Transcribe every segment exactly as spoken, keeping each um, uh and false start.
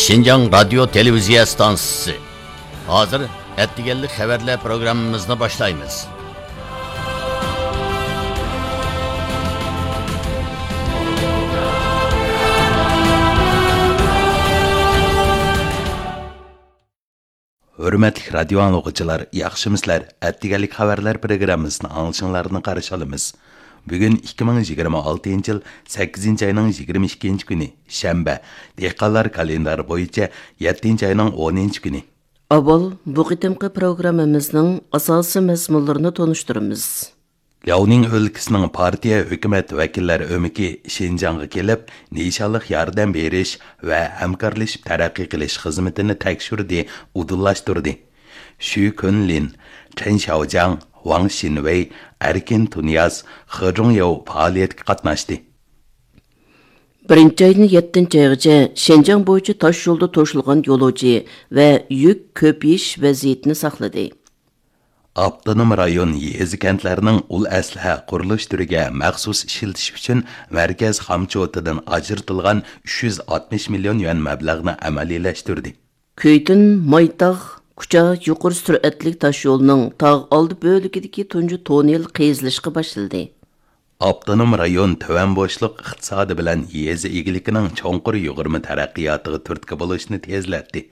شىنجاڭ رادىيو تېلېۋىزىيە ئىستانسىسى. ھازىر ئەتىگەنلىك خەۋەرلەر پروگراممىمىزنى باشلايمىز. ھۆرمەتلىك رادىيو ئاڭلىغۇچىلار، ياخشىمۇسىلەر؟ ئەتىگەنلىك خەۋەرلەر پروگراممىسىنى ئاڭلىشىڭلارنى قارشى ئالىمىز. بۈگۈن ئىككى مىڭ يىگىرمە ئالتىنچى يىل سەككىزىنچى ئاينىڭ يىگىرمە ئىككىنچى كۈنى، شەنبە. دېھقانلار كالېندارى بويىچە يەتتىنچى ئاينىڭ ئونىنچى كۈنى. ئاۋۋال بۇ قېتىمقى پروگراممىمىزنىڭ ئاساسىي مەزمۇنلىرىنى تونۇشتۇرىمىز. لياۋنىڭ ئۆلكىسىنىڭ پارتىيە، ھۆكۈمەت ۋەكىللەر ئۆمىكى شىنجاڭغا كېلىپ، نىشانلىق ياردەم بېرىش ۋە ھەمكارلىشىپ تەرەققىي قىلىش خىزمىتىنى تەكشۈردى، ئۇدۇللاشتۇردى. شۈ كۈنلىن، چېن شياۋجياڭ، ۋاڭ شىنۋېي، ئەركىن تۇنىياز، خې جۇڭياۋ پائالىيەتكە قاتناشتى. بىرىنچى ئايدىن يەتتىنچى ئايغىچە شىنجاڭ بويىچە تاش يولدا توشۇلغان يولۇچى ۋە يۈك كۆپىيىش ۋەزىيىتىنى ساقلىدى. ئاپتونوم رايون يېزا، كەنتلەرنىڭ ئۇل ئەسلىھە قۇرۇلۇش تۈرىگە مەخسۇس ئىشلىتىش ئۈچۈن مەركەز خامچوتىدىن ئاجرىتىلغان ئۈچ يۈز ئاتمىش مىليون يۈەن مەبلەغنى ئەمەلىيلەشتۈردى. كۈيتۈن مايتاغ كۇچا يۇقىرى سۈرئەتلىك تاشيولىنىڭ تاغ ئالدى بۆلىكىدىكى تۇنجى توننېل قېزىلىشقا باشلىدى. ئاپتونوم رايون تۆۋەن بوشلۇق ئىقتىسادى بىلەن يېزا ئىگىلىكىنىڭ چوڭقۇر يۇغۇرما تەرەققىياتىغا تۈرتكە بولۇشنى تېزلەتتى.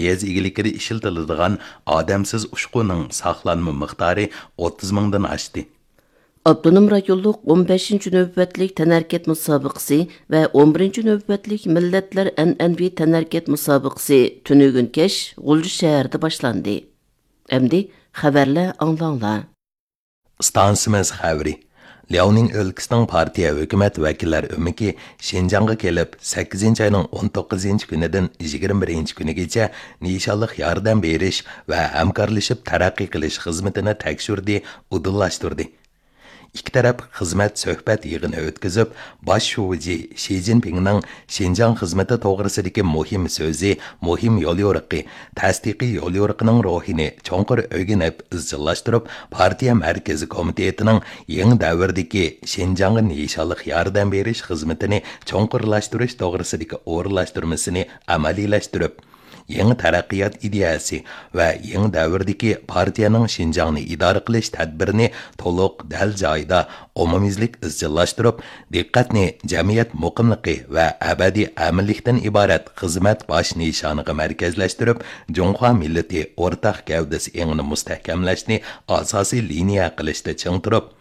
يېزا ئىگىلىكىدە ئىشلىتىلىدىغان ئادەمسىز ئۇچقۇنىڭ ساقلانما مىقدارى ئوتتۇز مىڭدىن ئاشتى. ئاپتونوم رايونلۇق ئون بەشىنچى نۆۋەتلىك تەنھەرىكەت مۇسابىقىسى ۋە ئون بىرىنچى نۆۋەتلىك مىللەتلەر ئەنئەنىۋى تەنھەرىكەت مۇسابىقىسى تۈنۈگۈن كەچ غۇلجا شەھىرىدە باشلاندى. ئەمدى خەۋەرلەر ئاڭلاڭلار. ئىستانسىمىز خەۋىرى. لياۋنىڭ ئۆلكىسىنىڭ پارتىيە، ھۆكۈمەت ۋەكىللەر ئۆمىكى شىنجاڭغا كېلىپ، سەككىزىنچى ئاينىڭ ئون توققۇزىنچى كۈنىدىن يىگىرمە بىرىنچى كۈنىگىچە نىشانلىق ياردەم بېرىش ۋە ھەمكارلىشىپ تەرەققىي قىلىش خىزمىتىنى تەكشۈردى، ئۇدۇللاشتۇردى. ئىككى تەرەپ خىزمەت سۆھبەت يىغىنى ئۆتكۈزۈپ، باش شۇجى شى جىنپىڭنىڭ شىنجاڭ خىزمىتى توغرىسىدىكى مۇھىم سۆزى، مۇھىم يوليورۇقى، تەستىقىي يوليورۇقىنىڭ روھىنى چوڭقۇر ئۆگىنىپ ئىزچىللاشتۇرۇپ، پارتىيە مەركىزىي كومىتېتىنىڭ يېڭى دەۋردىكى شىنجاڭغا نىشانلىق ياردەم بېرىش خىزمىتىنى چوڭقۇرلاشتۇرۇش توغرىسىدىكى ئورۇنلاشتۇرمىسىنى ئەمەلىيلەشتۈرۈپ، يېڭى تەرەققىيات ئىدىيەسى ۋە يېڭى دەۋردىكى پارتىيەنىڭ شىنجاڭنى ئىدارە قىلىش تەدبىرىنى تولۇق، دەل جايىدا، ئومۇميۈزلۈك ئىزچىللاشتۇرۇپ، دىققەتنى جەمئىيەت مۇقىملىقى ۋە ئەبەدىي ئەمىنلىكتىن ئىبارەت خىزمەت باش نىشانىغا مەركەزلەشتۈرۈپ، جۇڭخۇا مىللىتى ئورتاق گەۋدىسى ئېڭىنى مۇستەھكەملەشنى ئاساسىي لىنىيە قىلىشتا چىڭ تۇرۇپ،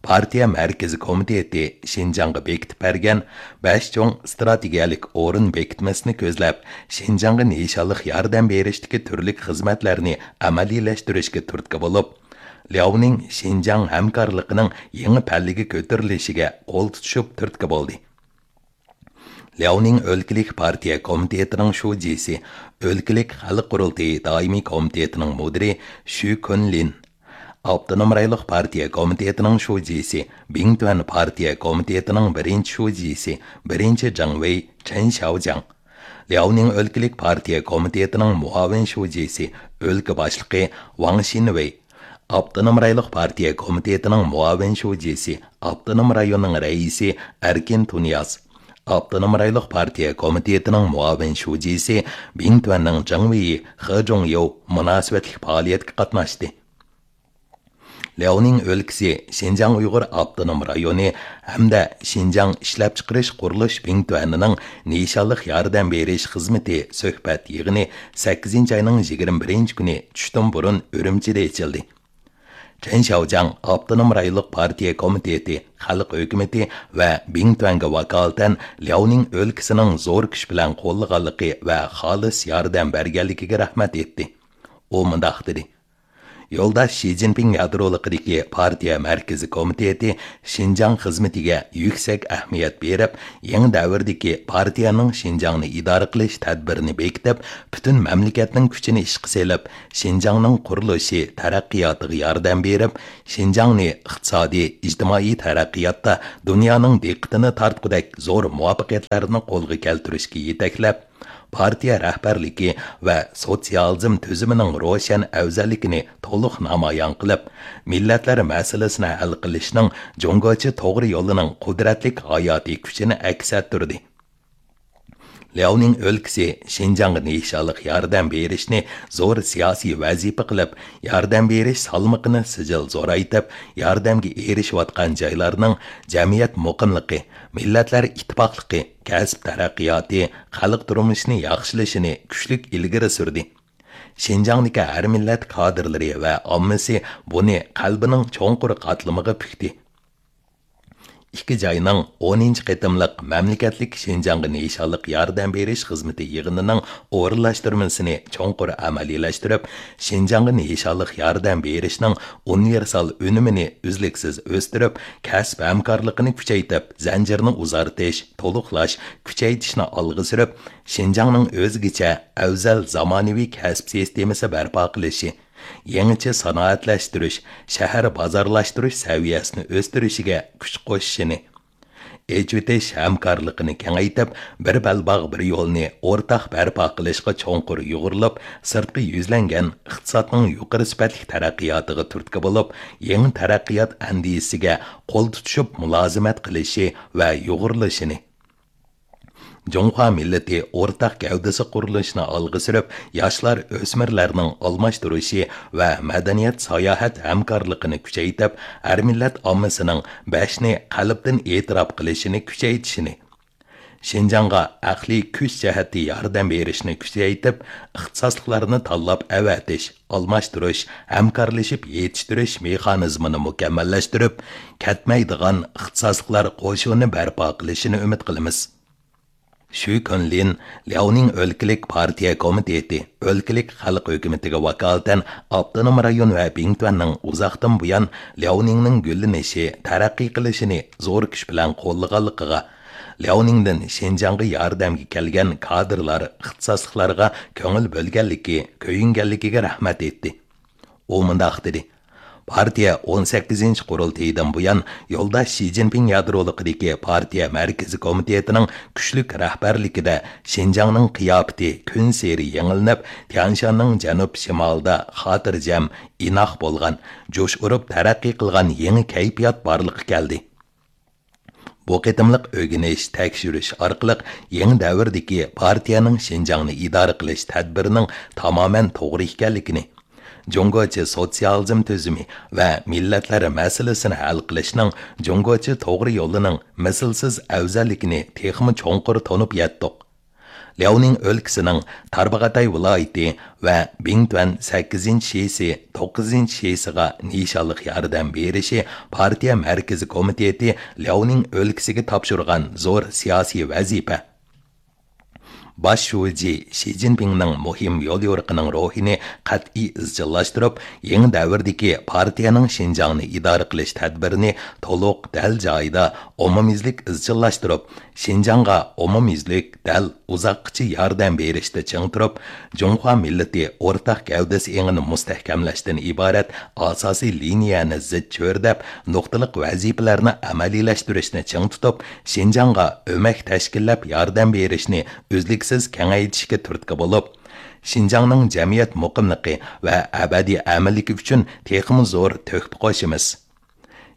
پارتىيە مەركىزىي كومىتېتى شىنجاڭغا بېكىتىپ بەرگەن بەش چوڭ ئىستراتېگىيەلىك ئورۇن بېكىتمىسىنى كۆزلەپ، شىنجاڭغا نىشانلىق ياردەم بېرىشتىكى تۈرلۈك خىزمەتلەرنى ئەمەلىيلەشتۈرۈشكە تۈرتكە بولۇپ، لياۋنىڭ شىنجاڭ ھەمكارلىقىنىڭ يېڭى پەللىگە كۆتۈرۈلۈشىگە قول تۇتۇشۇپ تۈرتكە بولدى. لياۋنىڭ ئۆلكىلىك پارتىيە كومىتېتىنىڭ شۇجىسى، ئۆلكىلىك خەلق قۇرۇلتىيى دائىمىي كومىتېتىنىڭ مۇدىرى شۈ كۈنلىن، ئاپتونوم رايونلۇق پارتىيە كومىتېتىنىڭ شۇجىسى، بىڭتۈەن پارتىيە كومىتېتىنىڭ بىرىنچى شۇجىسى، بىرىنچى جاڭۋېي چېن شياۋجياڭ، لياۋنىڭ ئۆلكىلىك پارتىيە كومىتېتىنىڭ مۇئاۋىن شۇجىسى، ئۆلكە باشلىقى ۋاڭ شىنۋېي، ئاپتونوم رايونلۇق پارتىيە كومىتېتىنىڭ مۇئاۋىن شۇجىسى، ئاپتونوم رايوننىڭ رەئىسى ئەركىن تۇنىياز، ئاپتونوم رايونلۇق پارتىيە كومىتېتىنىڭ مۇئاۋىن شۇجىسى، بىڭتۈەننىڭ جاڭۋېيى خې جۇڭياۋ مۇناسىۋەتلىك پائالىيەتكە قاتناشتى. لياۋنىڭ ئۆلكىسى شىنجاڭ ئۇيغۇر ئاپتونوم رايونى ھەمدە شىنجاڭ ئىشلەپچىقىرىش قۇرۇلۇش بىڭتۈەنىنىڭ نىشانلىق ياردەم بېرىش خىزمىتى سۆھبەت يىغىنى سەككىزىنچى ئاينىڭ يىگىرمە بىرىنچى كۈنى چۈشتىن بۇرۇن ئۈرۈمچىدە ئېچىلدى. چېن شياۋجياڭ ئاپتونوم رايونلۇق پارتىيە كومىتېتى، خەلق ھۆكۈمىتى ۋە بىڭتۈەنگە ۋاكالىتەن لياۋنىڭ ئۆلكىسىنىڭ زور كۈچ بىلەن قوللىغانلىقى ۋە خالىس ياردەم بەرگەنلىكىگە رەھمەت ئېيتتى. ئۇ مۇنداق دېدى: يولداش شى جىنپىڭ يادرولۇقىدىكى پارتىيە مەركىزىي كومىتېتى شىنجاڭ خىزمىتىگە يۈكسەك ئەھمىيەت بېرىپ، يېڭى دەۋردىكى پارتىيەنىڭ شىنجاڭنى ئىدارە قىلىش تەدبىرىنى بېكىتىپ، پۈتۈن مەملىكەتنىڭ كۈچىنى ئىشقا سېلىپ، شىنجاڭنىڭ قۇرۇلۇشى، تەرەققىياتىغا ياردەم بېرىپ، شىنجاڭنى ئىقتىسادىي، ئىجتىمائىي تەرەققىياتتا دۇنيانىڭ دىققىتىنى تارتقۇدەك زور مۇۋەپپەقىيەتلەرنى قولغا كەلتۈرۈشكە يېتەكلەپ، پارتىيە رەھبەرلىكى ۋە سوتسىيالىزم تۈزۈمىنىڭ روشەن ئەۋزەللىكىنى تولۇق نامايان قىلىپ، مىللەتلەر مەسىلىسىنى ھەل قىلىشنىڭ جۇڭگوچە توغرا يولىنىڭ قۇدرەتلىك ھاياتىي كۈچىنى ئەكس ئەتتۈردى. لياۋنىڭ ئۆلكىسى شىنجاڭغا نىشانلىق ياردەم بېرىشنى زور سىياسىي ۋەزىپە قىلىپ، ياردەم بېرىش سالمىقىنى سىجىل زورايتىپ، ياردەمگە ئېرىشىۋاتقان جايلارنىڭ جەمئىيەت مۇقىملىقى، مىللەتلەر ئىتتىپاقلىقى، كەسىپ تەرەققىياتى، خەلق تۇرمۇشىنى ياخشىلىشىنى كۈچلۈك ئىلگىرى سۈردى. شىنجاڭدىكى ھەر مىللەت كادىرلىرى ۋە ئاممىسى بۇنى قەلبىنىڭ چوڭقۇر قاتلىمىغا پۈكتى. ئىككى جاينىڭ ئونىنچى قېتىملىق مەملىكەتلىك شىنجاڭغا نىشانلىق ياردەم بېرىش خىزمىتى يىغىنىنىڭ ئورۇنلاشتۇرمىسىنى چوڭقۇر ئەمەلىيلەشتۈرۈپ، شىنجاڭغا نىشانلىق ياردەم بېرىشنىڭ ئۇنىۋېرسال ئۈنۈمىنى ئۈزلۈكسىز ئۆستۈرۈپ، كەسىپ ھەمكارلىقىنى كۈچەيتىپ، زەنجىرنى ئۇزارتىش، تولۇقلاش، كۈچەيتىشنى ئالغا سۈرۈپ، شىنجاڭنىڭ ئۆزگىچە، ئەۋزەل زامانىۋى كەسىپ سىستېمىسى بەرپا قىلىشى، يېڭىچە سانائەتلەشتۈرۈش، شەھەر بازارلاشتۇرۇش سەۋىيەسىنى ئۆستۈرۈشىگە كۈچ قوشۇشىنى، ئېچىۋېتىش ھەمكارلىقىنى كېڭەيتىپ، بىر بەلباغ، بىر يولنى ئورتاق بەرپا قىلىشقا چوڭقۇر يۇغۇرۇلۇپ، سىرتقا يۈزلەنگەن ئىقتىسادنىڭ يۇقىرى سۈپەتلىك تەرەققىياتىغا تۈرتكە بولۇپ، يېڭى تەرەققىيات ئەندىزىسىگە قول تۇتۇشۇپ مۇلازىمەت قىلىشى ۋە يۇغۇرۇلۇشىنى، جۇڭخۇا مىللىتى ئورتاق گەۋدىسى قۇرۇلۇشىنى ئالغا سۈرۈپ، ياشلار، ئۆسمۈرلەرنىڭ ئالماشتۇرۇشى ۋە مەدەنىيەت، ساياھەت ھەمكارلىقىنى كۈچەيتىپ، ھەر مىللەت ئاممىسىنىڭ بەشنى قەلبتىن ئېتىراپ قىلىشىنى كۈچەيتىشىنى، شىنجاڭغا ئەقلىي كۈچ جەھەتتە ياردەم بېرىشنى كۈچەيتىپ، ئىختىساسلىقلارنى تاللاپ ئەۋەتىش، ئالماشتۇرۇش، ھەمكارلىشىپ يېتىشتۈرۈش مېخانىزمىنى مۇكەممەللەشتۈرۈپ، كەتمەيدىغان ئىختىساسلىقلار قوشۇنى بەرپا قىلىشىنى ئۈمىد قىلىمىز. شۈ كۈنلىن لياۋنىڭ ئۆلكىلىك پارتىيە كومىتېتى ئۆلكىلىك خەلق ھۆكۈمىتىگە ۋاكالىتەن ئاپتونوم رايون ۋە بىڭتۈەننىڭ ئۇزاقتىن بۇيان لياۋنىڭنىڭ گۈللىنىشى، تەرەققىي قىلىشىنى زور كۈچ بىلەن قوللىغانلىقىغا، لياۋنىڭدىن شىنجاڭغا ياردەمگە كەلگەن كادىرلار، ئىختىساسلىقلارغا كۆڭۈل بۆلگەنلىكى، كۆيۈنگەنلىكىگە رەھمەت ئېيتتى. ئۇ مۇنداق دېدى: پارتىيە ئون سەككىزىنچى قۇرۇلتىيىدىن بۇيان يولداش شى جىنپىڭ يادرولۇقىدىكى پارتىيە مەركىزىي كومىتېتىنىڭ كۈچلۈك رەھبەرلىكىدە شىنجاڭنىڭ قىياپىتى كۈنسېرى يېڭىلىنىپ، تيەنشاننىڭ جەنۇب شىمالىدا خاتىرجەم، ئىناق بولغان، جۇش ئۇرۇپ تەرەققىي قىلغان يېڭى كەيپىيات بارلىققا كەلدى. بۇ قېتىملىق ئۆگىنىش، تەكشۈرۈش ئارقىلىق يېڭى دەۋردىكى پارتىيەنىڭ شىنجاڭنى ئىدارە قىلىش تەدبىرىنىڭ تامامەن توغرا ئىكەنلىكىنى، جۇڭگوچە سوتسىيالىزم تۈزۈمى ۋە مىللەتلەر مەسىلىسىنى ھەل قىلىشنىڭ جۇڭگوچە توغرا يولىنىڭ مىسلىسىز ئەۋزەللىكىنى تېخىمۇ چوڭقۇر تونۇپ يەتتۇق. لياۋنىڭ ئۆلكىسىنىڭ تارباغاتاي ۋىلايىتى ۋە بىڭتۈەن سەككىزىنچى شىسى، توققۇزىنچى شىسىغا نىشانلىق ياردەم بېرىشى پارتىيە مەركىزىي كومىتېتى لياۋنىڭ ئۆلكىسىگە تاپشۇرغان زور سىياسىي ۋەزىپە. باش شۇجى شى جىنپىڭنىڭ مۇھىم يوليورۇقىنىڭ روھىنى قەتئىي ئىزچىللاشتۇرۇپ، يېڭى دەۋردىكى پارتىيەنىڭ شىنجاڭنى ئىدارە قىلىش تەدبىرىنى تولۇق، دەل جايىدا، ئومۇميۈزلۈك ئىزچىللاشتۇرۇپ، شىنجاڭغا ئومۇميۈزلۈك، دەل، ئۇزاققىچە ياردەم بېرىشتە چىڭ تۇرۇپ، جۇڭخۇا مىللىتى ئورتاق گەۋدىسى ئېڭىنى مۇستەھكەملەشتىن ئىبارەت ئاساسىي لىنىيەنى زىچ چۆرىدەپ، نۇقتىلىق ۋەزىپىلەرنى ئەمەلىيلەشتۈرۈشنى چىڭ تۇتۇپ، شىنجاڭغا ئۆمەك تەشكىللەپ ياردەم بېرىشنى ئۈزلۈكسىز كېڭەيتىشكە تۈرتكە بولۇپ، شىنجاڭنىڭ جەمئىيەت مۇقىملىقى ۋە ئەبەدىي ئەمىنلىكى ئۈچۈن تېخىمۇ زور تۆھپە قوشىمىز.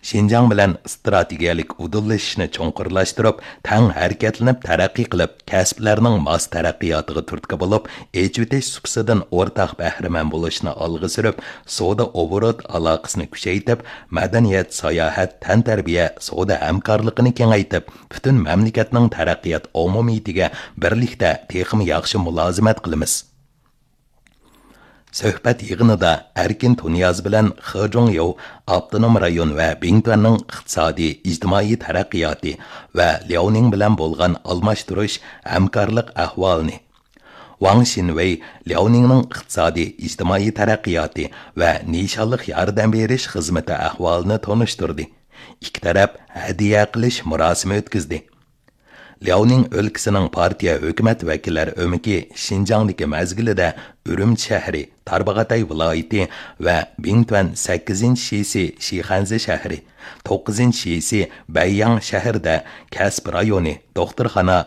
شىنجاڭ بىلەن ئىستراتېگىيەلىك ئۇدۇللىشىشنى چوڭقۇرلاشتۇرۇپ، تەڭ ھەرىكەتلىنىپ تەرەققىي قىلىپ، كەسىپلەرنىڭ ماس تەرەققىياتىغا تۈرتكە بولۇپ، ئېچىۋېتىش سۇپىسىدىن ئورتاق بەھرىمەن بولۇشنى ئالغا سۈرۈپ، سودا ئوبوروت ئالاقىسىنى كۈچەيتىپ، مەدەنىيەت، ساياھەت، تەنتەربىيە، سودا ھەمكارلىقىنى كېڭەيتىپ، پۈتۈن مەملىكەتنىڭ تەرەققىيات ئومۇمىيىتىگە بىرلىكتە تېخىمۇ ياخشى مۇلازىمەت قىلىمىز. سۆھبەت يىغىنىدا ئەركىن تۇنىياز بىلەن خې جۇڭيو ئاپتونوم رايون ۋە بىڭتۈەننىڭ ئىقتىسادىي، ئىجتىمائىي تەرەققىياتى ۋە لياۋنىڭ بىلەن بولغان ئالماشتۇرۇش، ھەمكارلىق ئەھۋالىنى، ۋاڭ شىنۋېي لياۋنىڭنىڭ ئىقتىسادىي، ئىجتىمائىي تەرەققىياتى ۋە نىشانلىق ياردەم بېرىش خىزمىتى ئەھۋالىنى تونۇشتۇردى. ئىككى تەرەپ ھەدىيە قىلىش مۇراسىمى ئۆتكۈزدى. لياۋنىڭ ئۆلكىسىنىڭ پارتىيە ھۆكۈمەت ۋەكىللەر ئۆمىكى شىنجاڭدىكى مەزگىلىدە ئۈرۈمچى شەھىرى، تارباغاتاي ۋىلايىتى ۋە بىڭتۈەن سەككىزىنچى شىسى شىخەنزە شەھىرى، توققۇزىنچى شىسى بەيياڭ شەھىرىدە كەسىپ رايونى، دوختۇرخانا،